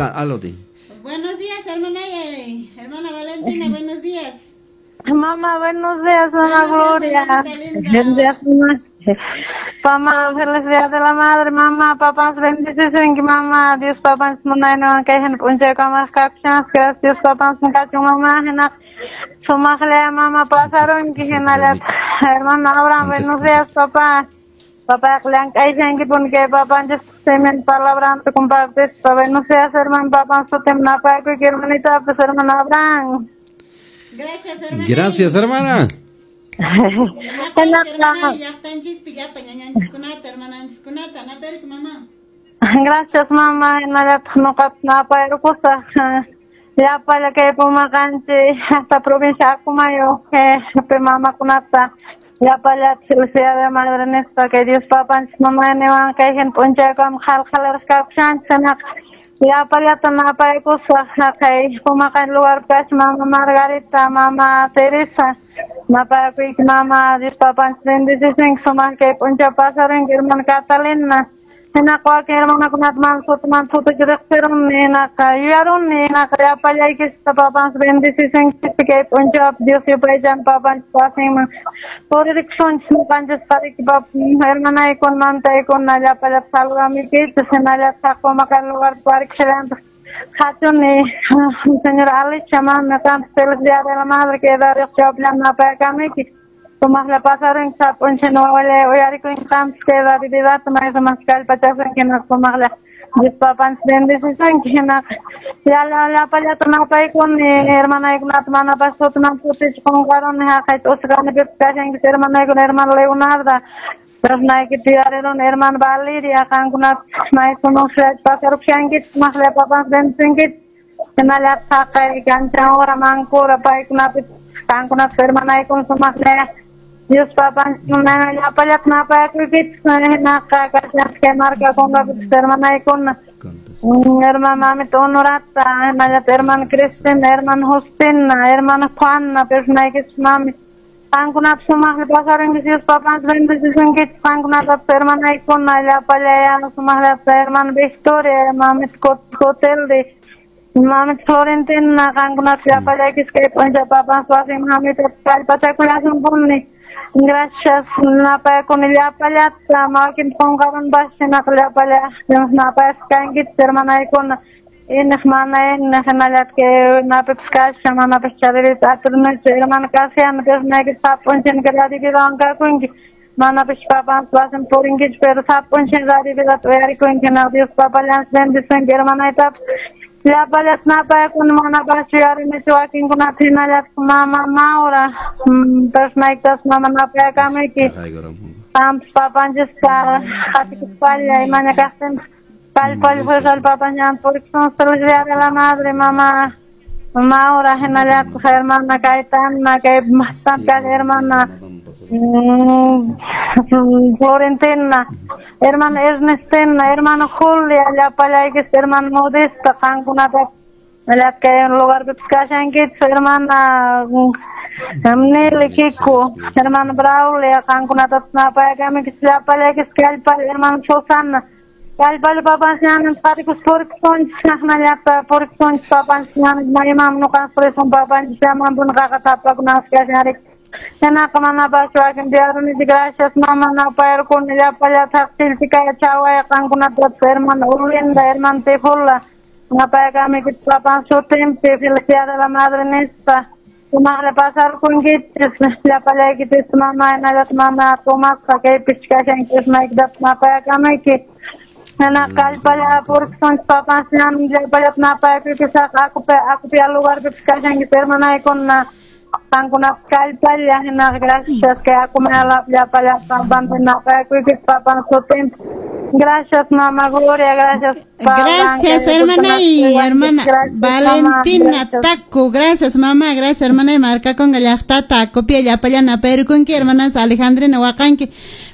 Aló. Buenos días, hermana, hermana Valentina, buenos días. Mamá, buenos días, mamá Gloria. Buenos días, mamá. Mamá, feliz día de la madre, mamá, papá, bendiciones, mamá, Dios, papá, munayno, kay puncha kamas kapchas, Dios, papá, kachu, mamá, hena, sumaqle, mamá, pasaron, que hena, hermano Abraham, buenos días, papá. Papá, llank'aysanki que papá, semen palabra te compartes, buenos días, hermano, papá, sutem napaykuy, hermanita, pues, hermano Abraham. Gracias, hermana. Gracias, hermana. Gracias, mamá. Llapalla kay Pumaqanchik hasta provincia Acomayo, mamakunata llapalla felicidad de madre nispa que Dios papanchik mamayniwan kay hina p'unchaykama qhalqhalaraq kawshanchik llapallata napaykusaq haqay Pumaqan lugar kashan mama Margarita, mama Teresa napayakuyki mama Dios papanchik bendecisunki sumaq kay p'unchay pasarinki hermana Catalina hinaqa wakin hermanakunata mana sutimanta suticha riqsiruni hinaqa yuyaruni hinaqa llapallaykista papanchik bendecisunki kay p'unchaypi Dios yupaychan papanchik wasinman puririkusunchik ñuqanchisqa riki hermanaykuna mamitaykuna llapallata saludamuykichis hinallataq Pumaqan lugar parikushallantaj qhachuni señora Alicia mami qampas feliz día de la madre que Dios chawpillami napayakamuyki sumaqlla pasarinki sapa p'unchay wawallay uyarikunki qampas kay radiovidata may sumaq kallpachasunki hinaqa sumaqlla Dios papanchik bendecisunki hinaqa llapallata napaykuni hermanaykunata manapas sutimanta suticha qunqaruni haqay t'usqanipipas kashankichis hermanaykuna hermana Leonarda Personaykita yuyariruni hermana Valeria qankunata may sumaqlla pasarupushankichis sumaqlla papanchik bendecisunkichis hinallataq haqay Kanchanura Mancura paykunapipas qankunapas hermanaykuna sumaqlla Dios papanchik llapallata napayakuykichis hinaqa kashanchik kay markakunapipas hermanaykuna hermana mamita Honorata hinallataq hermana Cristina hermana Justina hermana Juana personaykichis mami qankunapas sumaqlla pasarinkichis Dios papanchik bendecisunkichis qankunatapas hermanaykuna llapallaya sumaqllata hermana Victoria mamita Coteldi mamita Florentina qankunata llapallaykichis kay p'unchay papanchik wasinman hamuyta kallpachakullasunpuni. Gracias, napayakuni llapallata wakin qunqarunpas hinaqa llapalla napayasqa kankichis hermanaykuna iniq mana iniq hinallataq kay napipas kashan manapas charirita atirnichu hermana Casiana personaykichis sapa p'unchay radiovidawan kakunki manapas papanchik wasinpi purinkichu pero sapa p'unchay radiovidata uyarikunki hinaqa Dios papallanchik bendecisunki hermanaytapas llapallata napayakuni manapas yuyarinichu wakinkunata hinallataq mama Maura personaykitas mama napayakamuyki qampas papanchista qatikuspalla imaña kaqtinpas kallpalla fuerzalla papanchik purikusun feliz día de la madre mama Maura hinallataq hermana Cayetana kay bastante hermana Florentina hermana Ernestina hermana Julia llapallaykichis hermana Modesta qankunata kay lugarpipas kashankichis hermana Nelly Kiko hermana Braulia qankunatapas napayakamuykichis llapallaykichis kallpalla hermana Susana kallpalla papanchik qatikus purikusunchis hinallata purikusunchis papanchik maymanmi ñuqanchis purisun papanchik llamanpuni qaqa tapakunanchis kashan riki hinaqa manapas wakin yuyarunichik gracias mama napayarkuni llapallata qillchikaya chawaya qankunatapas hermana Ulinda hermana Tejula napayakamuykichis papanchik sutinpi feliz día de la madre nispa sumaqlla pasarkunkichis llapallaykichis mama hinallataq mama Tomasqa kaypichis kashankichis maykitapas napayakamuyki hinaqa kallpalla purikusunchis papanchik llapallata napayakuykichis akupia lugarpipas kashankichis hermanaykuna qankunapas kallpalla hinaqa gracias kay Acomayalapi llapallata papanchik napayakuykichis papanchik sutinpi. Gracias, mamá Gloria, gracias. Gracias, hermana y hermana Valentina Taco, gracias, mamá, gracias, hermana y marca con llaqtata, copia llapallana, pero con que hermanas Alejandrina Huacanqui.